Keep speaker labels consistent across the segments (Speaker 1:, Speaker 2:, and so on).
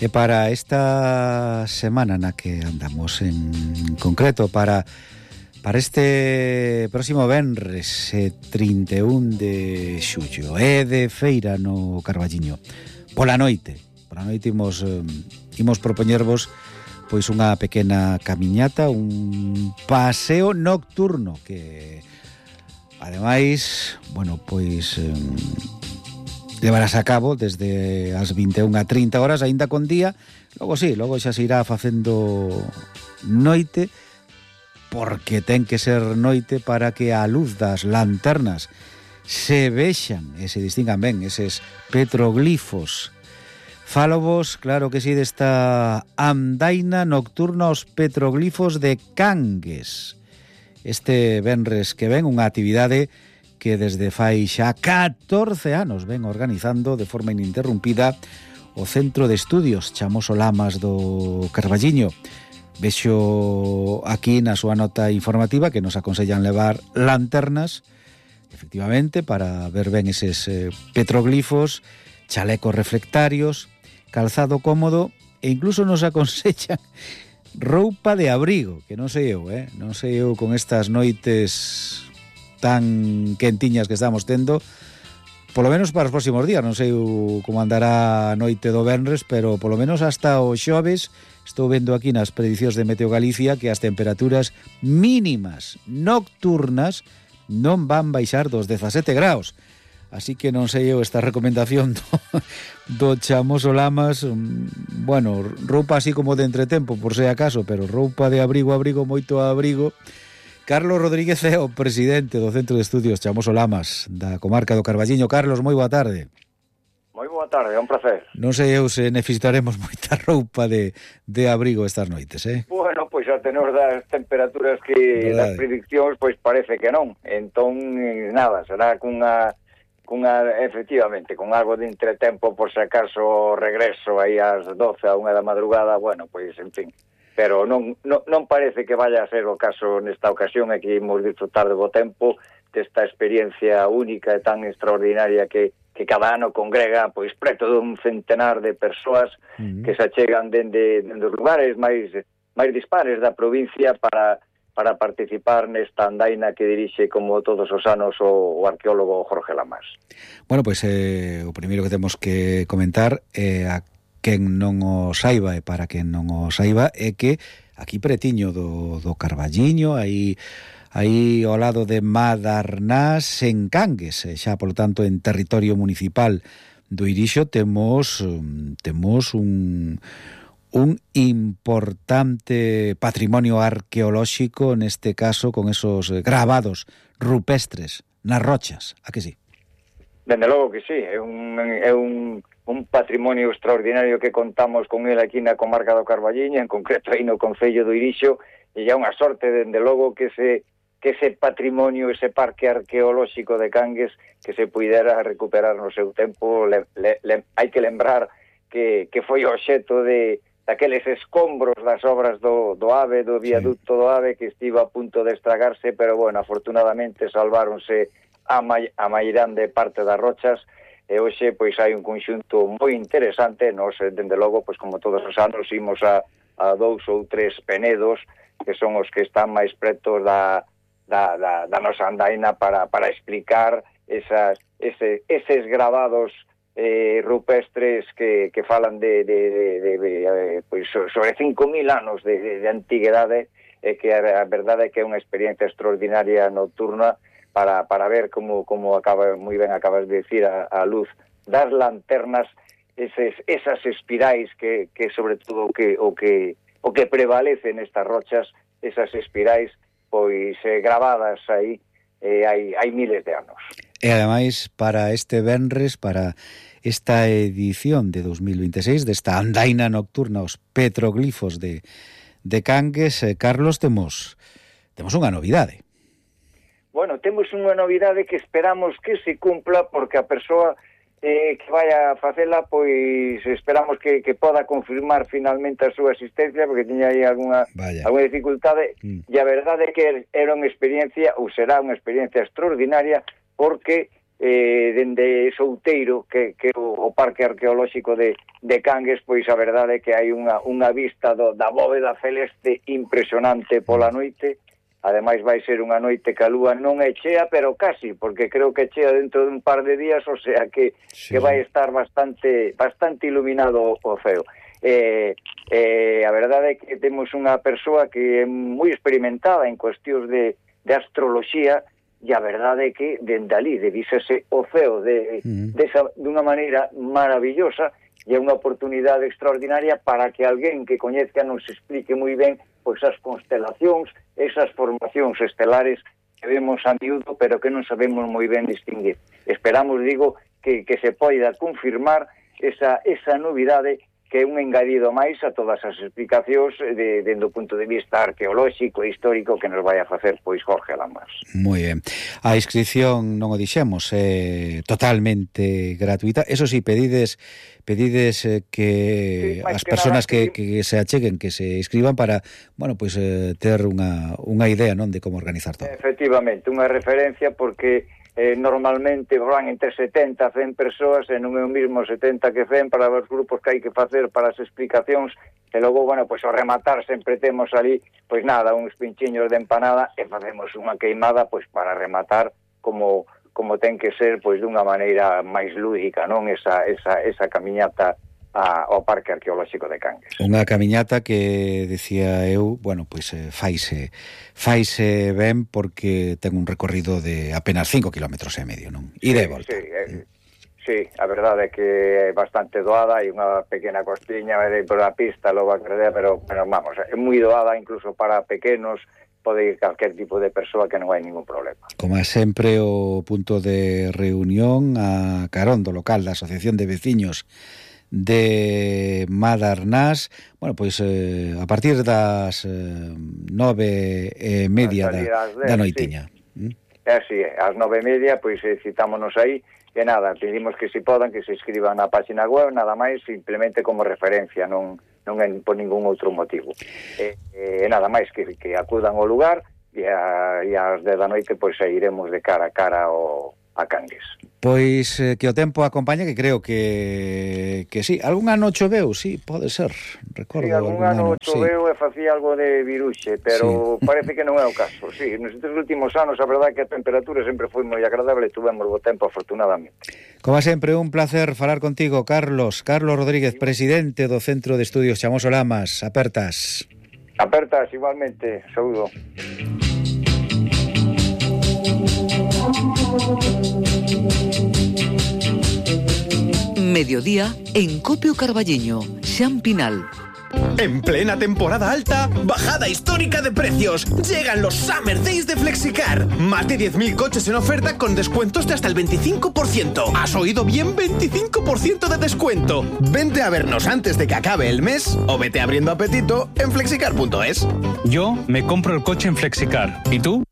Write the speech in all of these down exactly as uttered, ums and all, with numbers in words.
Speaker 1: E para esta semana na que andamos en concreto, para para este próximo venres eh, trinta e un de xullo, é de feira no Carballiño. Pola noite, pola noite imos, eh, imos propoñervos pois unha pequena camiñata, un paseo nocturno que ademais, bueno, pois eh, levarás a cabo desde as vinte e unha a trinta horas, aínda con día. Logo sí, logo xa se irá facendo noite, porque ten que ser noite para que a luz das lanternas se vexan e se distingan ben eses petroglifos. Fálovos, claro que sí, desta andaina nocturna aos petroglifos de Cangues. Este venres que ven, unha actividade que desde fai xa catorce anos ven organizando de forma ininterrumpida o Centro de Estudios Chamoso Lamas do Carballiño. Vexo aquí na súa nota informativa que nos aconsellan levar lanternas, efectivamente, para ver ben eses eh, petroglifos, chalecos reflectarios, calzado cómodo e incluso nos aconsellan roupa de abrigo, que non sei eu, eh? non sei eu con estas noites tan quentiñas que estamos tendo, polo menos para os próximos días. Non sei como andará a noite do venres, pero polo menos hasta o xoves estou vendo aquí nas predicións de Meteo Galicia que as temperaturas mínimas nocturnas non van baixar dos dezasete graus. Así que non sei eu esta recomendación do, do Chamoso Lamas, bueno, roupa así como de entretempo, por se acaso, pero roupa de abrigo, abrigo, moito abrigo. Carlos Rodríguez é o presidente do Centro de Estudios Chamoso Lamas da comarca do Carballiño. Carlos, moi boa tarde.
Speaker 2: Moi boa tarde, é un placer.
Speaker 1: Non sei eu se necesitaremos moita roupa de, de abrigo estas noites, eh?
Speaker 2: Bueno, pois a tenor das temperaturas que das prediccións, pois parece que non. Entón, nada, será cunha, cunha efectivamente, con algo de entretempo por se acaso regreso aí ás doce a unha da madrugada, bueno, pois, en fin. Pero non, non, non parece que vaya a ser o caso nesta ocasión, e que imos disfrutar de bo tempo desta experiencia única e tan extraordinaria que, que cada ano congrega pois preto dun centenar de persoas uh-huh. que se achegan dende, dende os lugares máis, máis dispares da provincia para, para participar nesta andaina que dirixe como todos os anos o, o arqueólogo Jorge Lamas.
Speaker 1: Bueno, pois eh, o primeiro que temos que comentar é a quen non o saiba, e para quen non o saiba, é que aquí pretiño do, do Carballiño, aí, aí ao lado de Madarnás, en Cangues, xa, polo tanto, en territorio municipal do Irixo, temos, temos un, un importante patrimonio arqueolóxico, neste caso, con esos gravados rupestres nas rochas, a que sí?
Speaker 2: Dende logo que sí, é un... É un... un patrimonio extraordinario que contamos con el aquí na comarca do Carballiño, en concreto aí no concello do Irixo, e é unha sorte, dende logo, que ese, que ese patrimonio, ese parque arqueolóxico de Cangues, que se puidera recuperar no seu tempo. Le, le, le, hai que lembrar que, que foi o obxeto de daqueles escombros das obras do, do AVE, do viaducto do AVE, que estivo a punto de estragarse, pero, bueno, afortunadamente salváronse a, ma, a mairande parte das rochas. E hoxe, pois, hai un conxunto moi interesante. Nos, dende logo, pois, como todos os anos, imos a, a dous ou tres penedos, que son os que están máis pretos da, da, da, da nosa andaina para, para explicar esas, ese, eses gravados eh, rupestres que, que falan de, de, de, de, de eh, pois, sobre cinco mil anos de, de, de antiguidade, e que a, a verdade é que é unha experiencia extraordinaria nocturna para, para ver como, como acaba, moi ben acabas de decir, a, a luz das lanternas, eses, esas espirais que, que sobre todo o que, o que, o que prevalece nestas rochas, esas espirais pois eh, gravadas aí eh, hai, hai miles de anos.
Speaker 1: E ademais, para este venres, para esta edición de dos mil veintiséis, desta andaina nocturna aos petroglifos de, de Cangues, eh, Carlos, temos, temos unha novidade.
Speaker 2: Bueno, temos unha novidade que esperamos que se cumpla, porque a persoa eh, que vai a facela, pois esperamos que, que poda confirmar finalmente a súa asistencia, porque tiña aí alguna, alguna dificultade, mm. e a verdade é que era unha experiencia, ou será unha experiencia extraordinaria, porque eh, dende Souteiro, que, que o, o Parque Arqueolóxico de, de Cangues, pois a verdade é que hai unha, unha vista do, da bóveda celeste impresionante pola noite. Ademais vai ser unha noite que a lúa non é chea, pero casi, porque creo que chea dentro de un par de días, o sea que, sí. que vai estar bastante bastante iluminado o ceo. Eh, eh, a verdade é que temos unha persoa que é moi experimentada en cuestións de, de astroloxía, e a verdade é que dende ali divísese o ceo de, mm. de esa, de unha maneira maravillosa, e é unha oportunidade extraordinaria para que alguén que coñezca nos explique moi ben pois as constelacións, esas formacións estelares que vemos a miúdo, pero que non sabemos moi ben distinguir. Esperamos, digo, que, que se poida confirmar esa, esa novidade que é un engadido máis a todas as explicacións de, dende o punto de vista arqueolóxico e histórico que nos vai a facer pois Jorge Lamas.
Speaker 1: Moi ben. A inscripción, non o dixemos, é totalmente gratuita. Eso sí, pedides pedides eh, que sí, as persoas que, que se acheguen, que se inscriban para, bueno, pois eh, ter unha, unha idea, non, de como organizar todo.
Speaker 2: Efectivamente, unha referencia porque Eh, normalmente van entre setenta a cen persoas e non é o mismo setenta que cen para os grupos que hai que facer para as explicacións e logo, bueno, pois ao rematar sempre temos ali, pois nada, uns pinchiños de empanada e facemos unha queimada pois para rematar como como ten que ser pois dunha maneira máis lúdica, non? Esa, esa, esa camiñata a, ao Parque Arqueolóxico de Cangues.
Speaker 1: Unha camiñata que, decía eu, bueno, pois eh, faise, faise ben porque ten un recorrido de apenas cinco kilómetros e medio, non? E de volta.
Speaker 2: Sí, eh, sí, a verdade é que é bastante doada, hai unha pequena costiña por a pista, logo a credea, pero, pero vamos, é moi doada incluso para pequenos, pode ir calquer tipo de persoa que non hai ningún problema.
Speaker 1: Como é sempre o punto de reunión a carón do local da Asociación de Veciños de Madarnás, bueno, pois eh, a partir das eh, nove e media da, da noitiña.
Speaker 2: Sí. Mm? Así é, ás nove e media, pois eh, citámonos aí, e nada, pedimos que se podan, que se escriban na página web, nada máis, simplemente como referencia, non non é por ningún outro motivo. E, e nada máis que, que acudan ao lugar, e, a, e ás dez da noite, pois iremos de cara a cara ao a Cangues.
Speaker 1: Pois eh, que o tempo acompaña, que creo que que sí, algún ano choveu, sí, pode ser. Recordo
Speaker 2: sí, algún, algún ano, ano choveu sí. E facía algo de viruxe, pero sí. Parece que non é o caso. Sí, nos últimos anos a verdade que a temperatura sempre foi moi agradable, tuvemos bo tempo afortunadamente.
Speaker 1: Como sempre, un placer falar contigo, Carlos. Carlos Rodríguez, sí. Presidente do Centro de Estudios Chamoso Lamas. Apertas.
Speaker 2: Apertas, igualmente. Saúdo.
Speaker 3: Mediodía en Copio Carballiño, Xan Pinal.
Speaker 4: En plena temporada alta, bajada histórica de precios. Llegan los Summer Days de Flexicar. Más de diez mil coches en oferta con descuentos de hasta el veinticinco por ciento. ¿Has oído bien? veinticinco por ciento de descuento. Vente a vernos antes de que acabe el mes o vete abriendo apetito en flexicar punto es.
Speaker 5: Yo me compro el coche en Flexicar. ¿Y tú?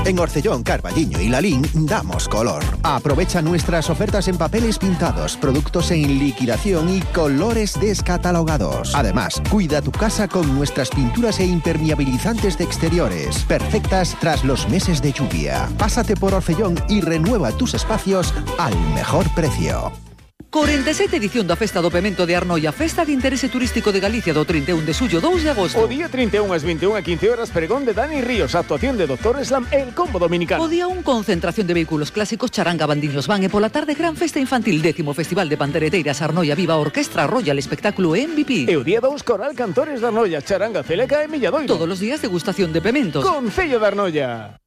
Speaker 6: En Orcellón, Carballiño y Lalín damos color. Aprovecha nuestras ofertas en papeles pintados, productos en liquidación y colores descatalogados. Además, cuida tu casa con nuestras pinturas e impermeabilizantes de exteriores, perfectas tras los meses de lluvia. Pásate por Orcellón y renueva tus espacios al mejor precio.
Speaker 3: cuarenta e sete edición da Festa do Pemento de Arnoia, Festa de Interese Turístico de Galicia do trinta e un de xullo, dous de agosto.
Speaker 7: O día trinta e un ás vinte e unha e quince horas, pregón de Dani Ríos, actuación de Doctor Slam, El Combo Dominicano.
Speaker 3: O día un, concentración de vehículos clásicos, charanga, bandiños van, e pola tarde gran festa infantil, décimo Festival de Pandereteiras Arnoia Viva, Orquestra Royal, espectáculo M V P.
Speaker 7: E o día dous, Coral Cantores de Arnoia, charanga, celeca e milladoiro.
Speaker 3: Todos os días degustación de pementos.
Speaker 7: Concello de Arnoia.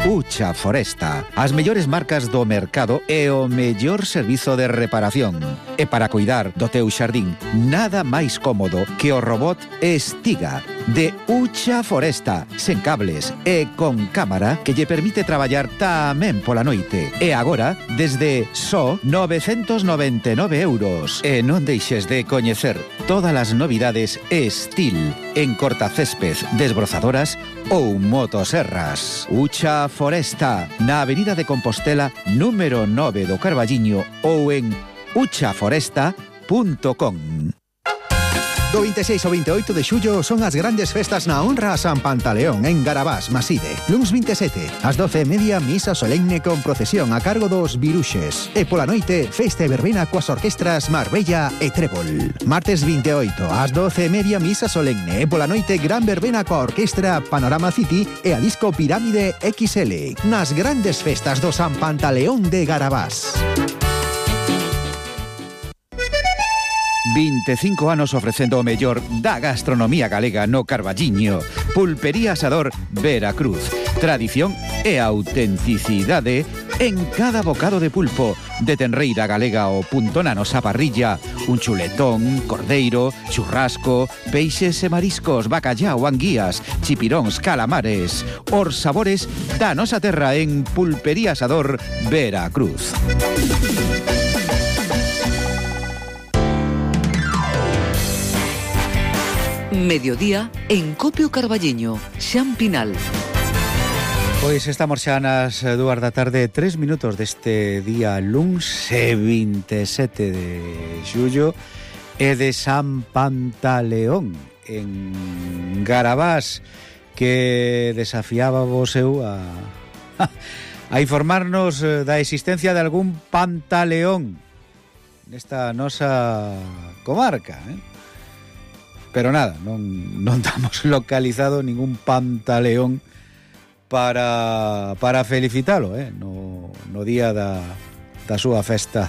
Speaker 6: Ucha Foresta, as mellores marcas do mercado e o mellor servizo de reparación. E para cuidar do teu xardín, nada máis cómodo que o robot Estiga de Ucha Foresta, sen cables e con cámara que lle permite traballar tamén pola noite. E agora, desde só novecentos noventa e nove euros. E non deixes de coñecer todas as novidades Estil en cortacésped, desbrozadoras ou motoserras. Ucha Foresta, na Avenida de Compostela, número nove do Carballiño ou en ucha foresta punto com.
Speaker 8: Do vinte e seis ao vinte e oito de xullo son as grandes festas na honra a San Pantaleón en Garabás, Maside. Luns vinte e sete, ás doce e media, misa solemne con procesión a cargo dos Viruxes. E pola noite, festa e verbena coas orquestras Marbella e Trébol. Martes vinte e oito, ás doce e media, misa solemne. E pola noite, gran verbena coa orquestra Panorama City e a disco Pirámide equis ele. Nas grandes festas do San Pantaleón de Garabás.
Speaker 6: vinte e cinco anos ofrecendo o mellor da gastronomía galega no Carballiño. Pulpería Asador Veracruz. Tradición e autenticidade en cada bocado de pulpo. De tenreira galega ao punto na nosa parrilla. Un chuletón, cordeiro, churrasco, peixes e mariscos, bacallao, anguías, chipiróns, calamares. Os sabores da nosa terra en Pulpería Asador Veracruz.
Speaker 3: Mediodía en Copio Carballiño, Xan Pinal.
Speaker 1: Pois estamos xa nas dúas da tarde, tres minutos deste día luns vinte e sete de xullo e de San Pantaleón en Garabás, que desafiaba vos eu a, a informarnos da existencia de algún pantaleón nesta nosa comarca, eh? Pero nada, non, non damos localizado ningún pantaleón para, para felicitalo, eh? no, no día da, da súa festa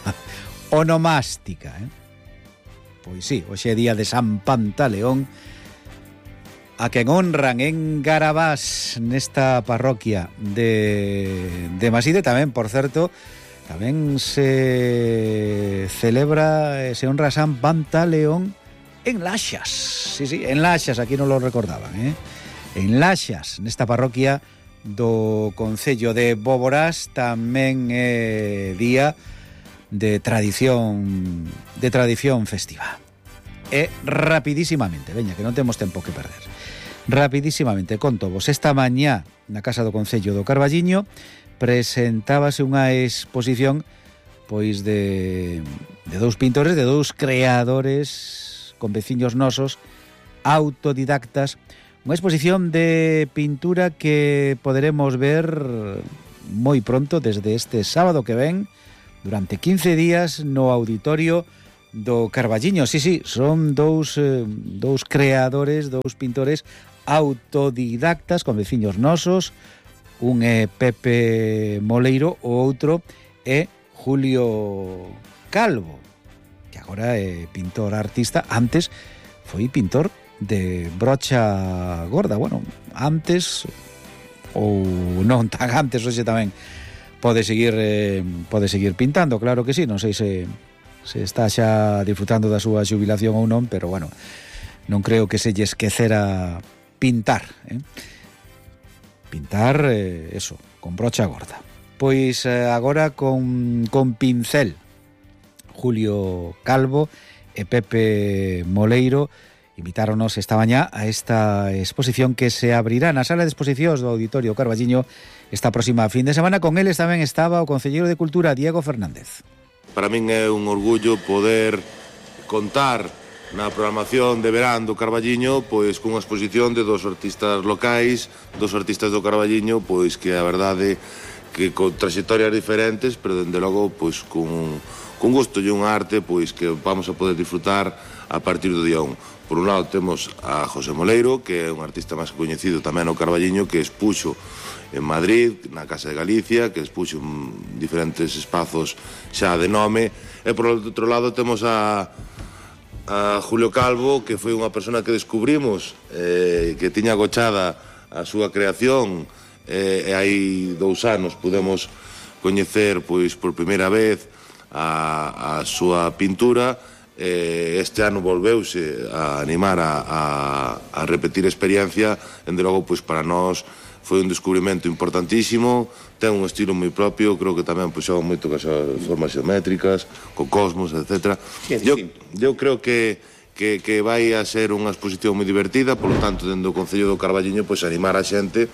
Speaker 1: onomástica. Eh? Pois sí, hoxe é día de San Pantaleón, a quen honran en Garabás, nesta parroquia de, de Maside. Tamén, por certo, tamén se celebra, se honra San Pantaleón en Laxas, sí, sí, en Laxas, aquí non lo recordaban, eh? En Laxas, nesta parroquia do concello de Boborás, tamén é día de tradición de tradición festiva. E rapidísimamente, veña, que non temos tempo que perder. Rapidísimamente, conto vos, esta mañá na Casa do Concello do Carballiño presentábase unha exposición pois de, de dous pintores, de dous creadores con veciños nosos, autodidactas, unha exposición de pintura que poderemos ver moi pronto, desde este sábado que ven, durante quince días no auditorio do Carballiño. Sí, sí, son dous, eh, dous creadores, dous pintores autodidactas con veciños nosos, un é Pepe Moleiro, o outro é Julio Calvo, que agora é pintor artista. Antes foi pintor de brocha gorda. Bueno, antes ou non tan antes, hoxe tamén pode seguir eh, pode seguir pintando, claro que sí. Non sei se, se está xa disfrutando da súa xubilación ou non, pero bueno, non creo que se lle esquecera pintar, eh? Pintar, eh, eso, con brocha gorda. Pois eh, agora con, con pincel, Julio Calvo e Pepe Moleiro invitáronos esta mañá a esta exposición que se abrirá na sala de exposicións do Auditorio Carballiño esta próxima fin de semana. Con eles tamén estaba o concelleiro de Cultura, Diego Fernández.
Speaker 9: Para min é un orgullo poder contar na programación de verán do Carballiño pois cunha exposición de dos artistas locais, dos artistas do Carballiño, pois que a verdade que con trayectorias diferentes, pero dende logo pois con con gusto e unha arte pois que vamos a poder disfrutar a partir do día un. Por un lado temos a José Moleiro, que é un artista máis coñecido tamén no Carballiño, que expuxo en Madrid, na Casa de Galicia, que expuxo en diferentes espazos xa de nome. E por outro lado temos a, a Julio Calvo, que foi unha persona que descubrimos, eh, que tiña agochada a súa creación, eh, e hai dous anos pudemos coñecer pois por primeira vez a, a súa pintura. Eh, este ano volveuse a animar a, a, a repetir experiencia. Dende logo, pois para nós foi un descubrimento importantísimo. Ten un estilo moi propio, creo que tamén pois xoga moito con as formas xeométricas, co cosmos, etcétera. Eu, eu creo que, que, que vai a ser unha exposición moi divertida, por lo tanto, dende o Concello do Carballiño, pois animar a xente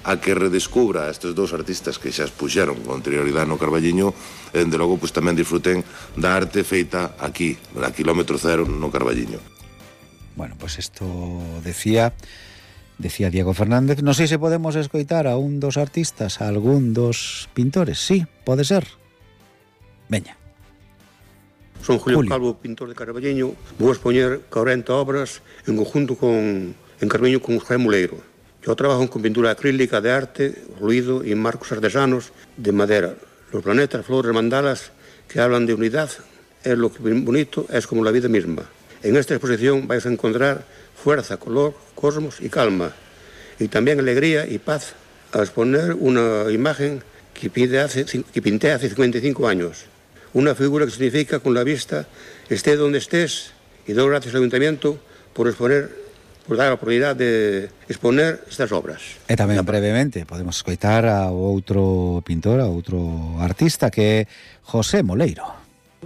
Speaker 9: a que redescubra estes dous artistas que xa expuxeron con anterioridade no Carballiño, e dende logo pois tamén disfruten da arte feita aquí, a kilómetro cero no Carballiño.
Speaker 1: Bueno, pues esto decía decía Diego Fernández. Non sei se podemos escoitar a un dos artistas, a algún dos pintores. Sí, pode ser. Veña.
Speaker 10: Son Julio, Julio Calvo, pintor de Carballiño. Vou expoñer corenta obras en conjunto con en Carballiño con José Moleiro. Yo trabajo con pintura acrílica de arte, ruido y marcos artesanos de madera. Los planetas, flores, mandalas que hablan de unidad, es lo que bonito, es como la vida misma. En esta exposición vais a encontrar fuerza, color, cosmos y calma, y también alegría y paz, a exponer una imagen que, pide hace, que pinté hace cincuenta y cinco años. Una figura que significa con la vista, esté donde estés, y doy gracias al Ayuntamiento por exponer, por dar a oportunidade de exponer estas obras.
Speaker 1: E tamén brevemente podemos escoitar a outro pintor, a outro artista, que é José Moleiro.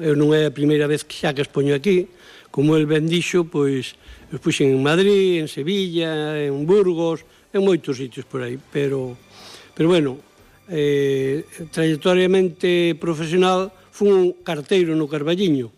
Speaker 11: Eu non é a primeira vez que xa que expoño aquí. Como el ben dixo, pois, os puxen en Madrid, en Sevilla, en Burgos, en moitos sitios por aí, pero, pero bueno, eh, trayectoriamente profesional, fui un carteiro no Carballiño.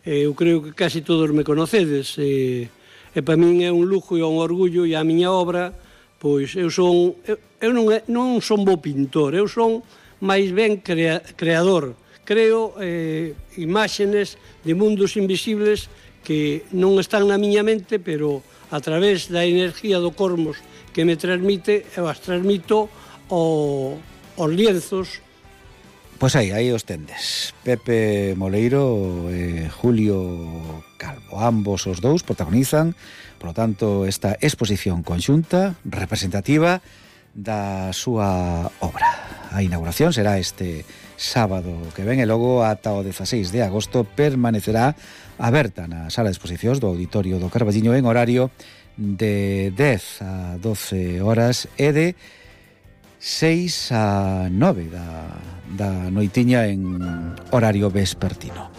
Speaker 11: Eh, eu creo que casi todos me conocedes, e, e para min é un lujo e un orgullo, e a miña obra, pois, eu son, eu, eu non, é, non son bo pintor, eu son máis ben crea, creador, creo eh, imágenes de mundos invisibles que non están na miña mente, pero a través da enerxía do cosmos que me transmite, eu as transmito ao, aos lienzos.
Speaker 1: Pois aí, aí os tendes. Pepe Moleiro e Julio Calvo. Ambos os dous protagonizan, por lo tanto, esta exposición conxunta, representativa da súa obra. A inauguración será este sábado que ven, e logo ata o dezaseis de agosto permanecerá aberta na sala de exposicións do Auditorio do Carballiño en horario de dez a doce horas e de seis a nove da, da noitiña en horario vespertino.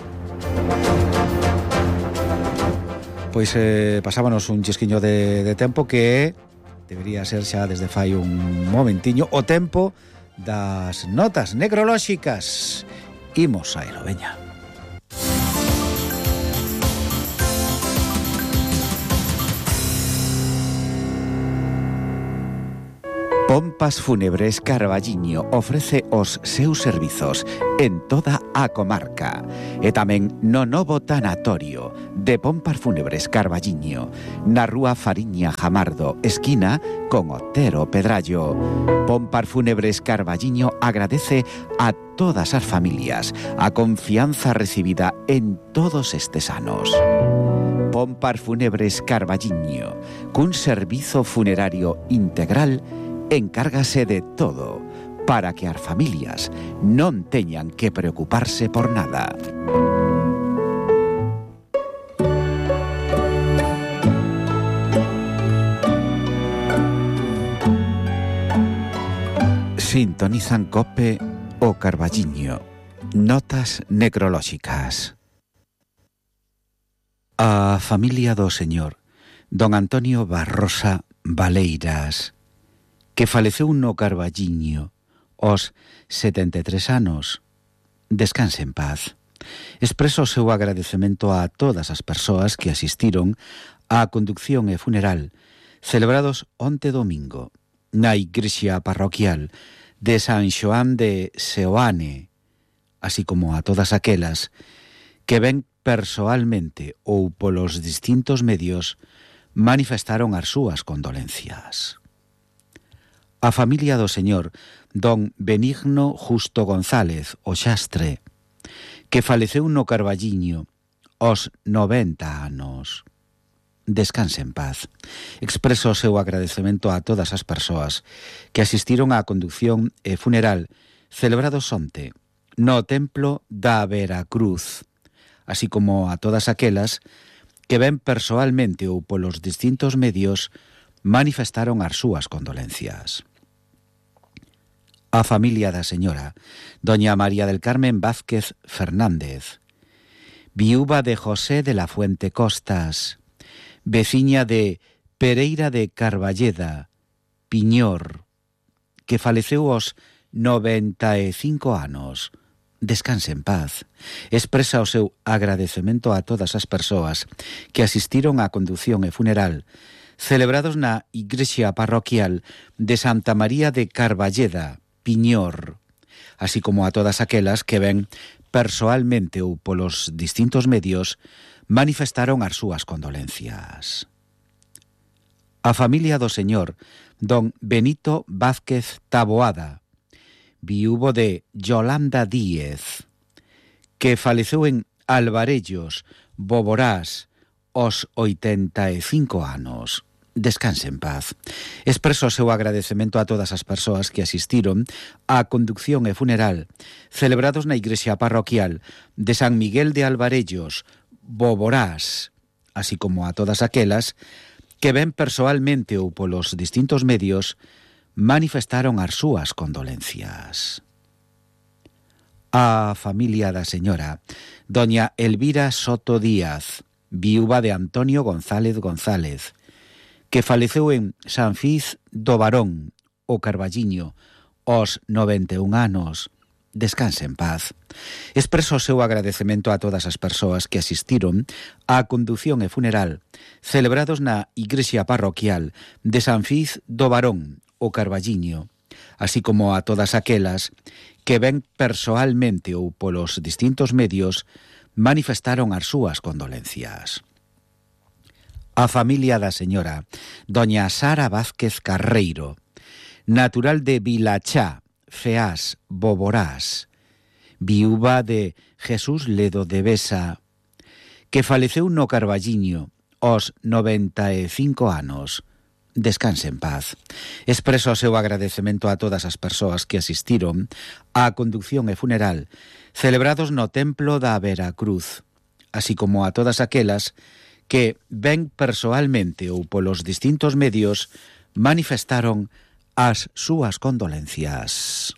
Speaker 1: Pois eh, pasábanos un chisquiño de, de tempo que debería ser xa desde fai un momentiño o tempo das notas necrolóxicas. Imos a elo, veña.
Speaker 6: Pompas Fúnebres Carballiño ofrece os seus servizos en toda a comarca e tamén no novo tanatorio de Pompas Fúnebres Carballiño na rúa Fariña Jamardo, esquina con Otero Pedrallo. Pompas Fúnebres Carballiño agradece a todas as familias a confianza recibida en todos estes anos. Pompas Fúnebres Carballiño, cun servizo funerario integral, encárgase de todo para que as familias non teñan que preocuparse por nada. Sintonizan COPE o Carballiño. Notas necrolóxicas. A familia do señor don Antonio Barrosa Valeiras, que faleceu no Carballiño aos setenta e tres anos, descanse en paz. Expreso o seu agradecemento a todas as persoas que asistiron á conducción e funeral celebrados onte domingo na igrexa parroquial de San Xoán de Seoane, así como a todas aquelas que ben persoalmente ou polos distintos medios manifestaron as súas condolencias. A familia do señor don Benigno Justo González, o Xastre, que faleceu no Carballiño aos noventa anos. Descanse en paz. Expreso o seu agradecemento a todas as persoas que asistiron á conducción e funeral celebrados onte no Templo da Veracruz, así como a todas aquelas que ben persoalmente ou polos distintos medios manifestaron as súas condolencias. A familia da señora doña María del Carmen Vázquez Fernández, viúva de José de la Fuente Costas, veciña de Pereira de Carballeda, Piñor, que faleceu aos noventa e cinco anos, descanse en paz. Expresa o seu agradecemento a todas as persoas que asistiron á condución e funeral celebrados na igrexa parroquial de Santa María de Carballeda, Piñor, así como a todas aquelas que ven persoalmente ou polos distintos medios manifestaron as súas condolencias. A familia do señor don Benito Vázquez Taboada, viúvo de Yolanda Díez, que faleceu en Alvarellos, Boborás, aos oitenta e cinco anos. Descanse en paz. Expreso o seu agradecemento a todas as persoas que asistiron á conducción e funeral celebrados na igrexa parroquial de San Miguel de Alvarellos, Boborás, así como a todas aquelas que ven persoalmente ou polos distintos medios manifestaron as súas condolencias. A familia da señora doña Elvira Soto Díaz, viúva de Antonio González González, que faleceu en San Fiz do Barón, o Carballiño, aos noventa e un anos. Descanse en paz. Expreso o seu agradecemento a todas as persoas que asistiron á condución e funeral celebrados na igrexa parroquial de San Fiz do Barón, o Carballiño, así como a todas aquelas que ven persoalmente ou polos distintos medios manifestaron as súas condolencias. A familia da señora doña Sara Vázquez Carreiro, natural de Vilachá, Feás, Boborás, viúva de Jesús Ledo de Besa, que faleceu no Carballiño aos noventa e cinco anos. Descanse en paz. Expreso o seu agradecemento a todas as persoas que asistiron á condución e funeral celebrados no Templo da Veracruz, así como a todas aquelas que ven persoalmente ou polos distintos medios manifestaron as súas condolencias.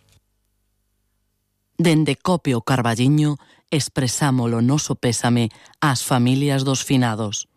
Speaker 12: Dende Copio Carballiño expresamos o noso pésame ás familias dos finados.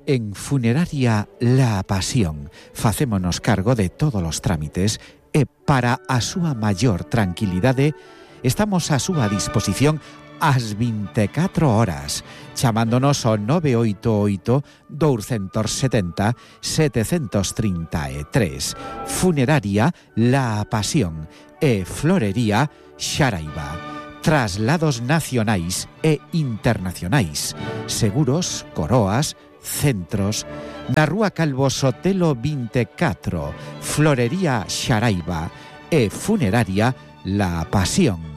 Speaker 6: En Funeraria La Pasión facémonos cargo de todos os trámites e para a súa maior tranquilidade estamos á súa disposición ás vinte e catro horas, chamándonos ao nove oito oito, dous sete zero, sete tres tres. Funeraria La Pasión e Florería Xaraiba. Traslados nacionais e internacionais. Seguros, coroas, centros. Na Rúa Calvo Sotelo vinte e catro, Florería Xaraiba e Funeraria La Pasión.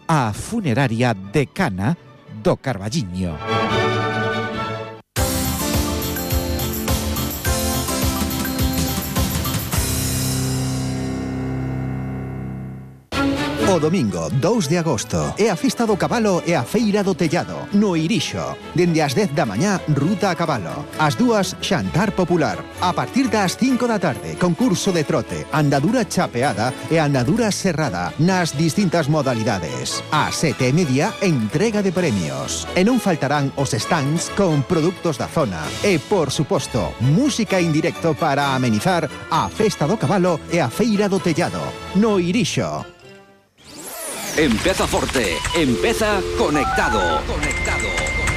Speaker 6: A funeraria decana do Carballiño.
Speaker 8: O domingo dous de agosto é a Festa do Cabalo e a Feira do Tellado no Irixo. Dende as dez da mañá, ruta a cabalo. As dúas, xantar popular. A partir das cinco da tarde, concurso de trote, andadura chapeada e andadura serrada nas distintas modalidades. A sete e media, entrega de premios. E non faltarán os stands con produtos da zona. E, por suposto, música en directo para amenizar a Festa do Cabalo e a Feira do Tellado no Irixo.
Speaker 13: Empeza forte, empeza conectado. Conectado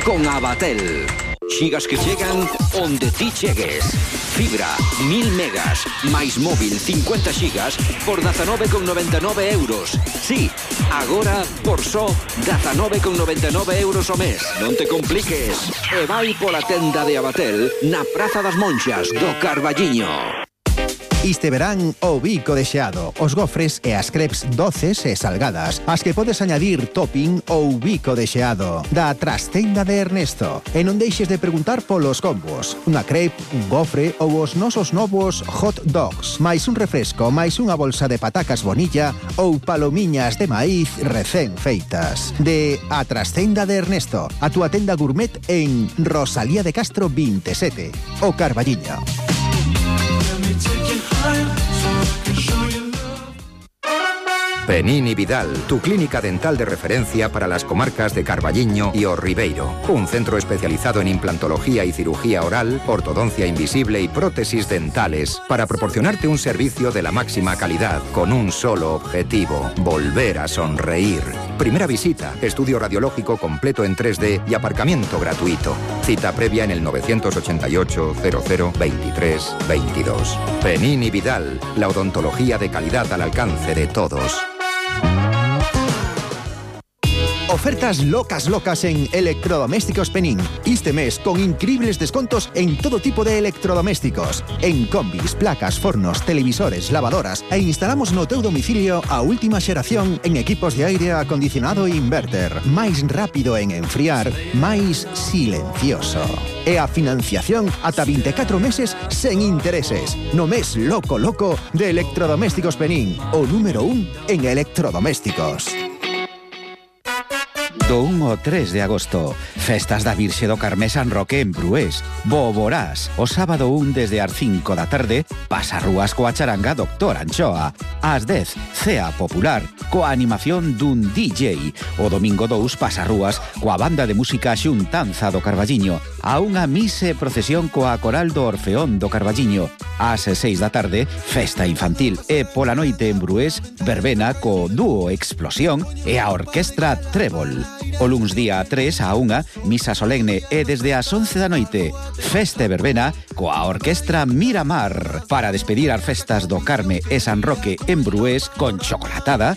Speaker 13: con Abatel. Xigas que chegan onde ti chegues. Fibra, mil megas, máis móvil cincuenta xigas por dezanove con noventa e nove euros. Sí, agora por só dezanove con noventa e nove euros o mes. Non te compliques. E vai pola tenda de Abatel na Praza das Monxas do Carballiño.
Speaker 8: Este verán o bico de xeado, os gofres e as crepes doces e salgadas, as que podes añadir topping ou bico de xeado, da trastenda de Ernesto. E non deixes de preguntar polos combos, unha crepe, un gofre ou os nosos novos hot dogs, máis un refresco, máis unha bolsa de patacas bonilla ou palomiñas de maíz recén feitas. De a trastenda de Ernesto, a túa tenda gourmet en Rosalía de Castro vinte e sete, o Carballiño.
Speaker 14: Penín y Vidal, tu clínica dental de referencia para las comarcas de Carballiño y O Ribeiro. Un centro especializado en implantología y cirugía oral, ortodoncia invisible y prótesis dentales para proporcionarte un servicio de la máxima calidad con un solo objetivo: volver a sonreír. Primera visita, estudio radiológico completo en tres D y aparcamiento gratuito. Cita previa en el novecientos ochenta y ocho, cero cero, veintitrés, veintidós. Penín y Vidal, la odontología de calidad al alcance de todos.
Speaker 8: Ofertas locas locas en Electrodomésticos Penín. Este mes con increíbles descontos en todo tipo de electrodomésticos. En combis, placas, fornos, televisores, lavadoras e instalamos no teu domicilio a última xeración en equipos de aire acondicionado e inverter. Máis rápido en enfriar, máis silencioso. E a financiación ata vinte e catro meses sen intereses. No mes loco loco de Electrodomésticos Penín, o número un en electrodomésticos.
Speaker 6: Do un ao tres de agosto, festas da Virxe do Carmé San Roque en Brués. Boborás, o sábado un desde as cinco da tarde, pasarrúas coa charanga Doctor Anchoa. Ás dez, cea popular, coa animación dun D J. O domingo dous, pasarrúas coa banda de música Xuntanza do Carballiño. A unha mise procesión coa coral do Orfeón do Carballiño. Ás seis da tarde, festa infantil. E pola noite en Brués, verbena co dúo Explosión e a orquestra Trébol. O luns día tres a unha, misa solemne e desde as once da noite, festa e verbena coa orquestra Miramar para despedir as festas do Carme e San Roque en Brués con chocolatada,